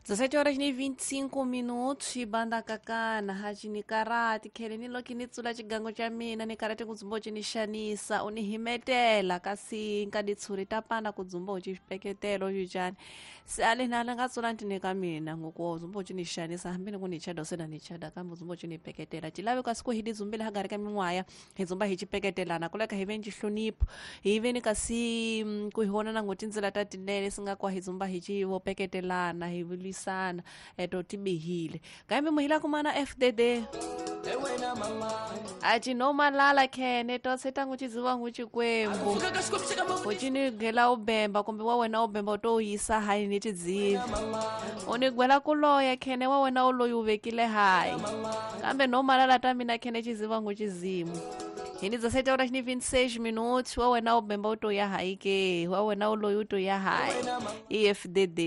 17 horas ni 25 minutos xibanda kakana haxinikarati khele ni loki ni tsula xigangu xa mina ni karate ku dzumba u xi ni xanisa u ni himetela kasi nka ditshuri ta pana ku dzumba u xi xipeketelo xicani se a le na ni nga tsula ntini ka mina ngoku wa dzumba u xi ni xanisa hambi ni ku ni chada se na ni chada kambe u dzumba u xi ni peketela ci lave kasi ku hi didzumbile hagari ka min'waya hi dzumba hi xipeketelana ku leka hi ve ni xihlonipho hi ve ni kasi ku hi vonana ngo tindzela ta tinene si nga kwa hi dzumba hi ci vo peketelana hi lwisana eto ti bihile kambe muhila kumana FDD a ci no malala khene to se tangu ci dziwa ngu xikwembu u ci ni gwela u bemba kumbe wa wena u bemba u to u yisa hayi ni tidzivi u ni gwela ku loya khene wa wena u loyi u vekile hayi kambe no malala ta mina khene xiziva ngu xizimu hi ni 17 horas ni 26 minutos wa wena u bemba u to ya hayi ke wa wena u loyi u to ya hayi EFDD.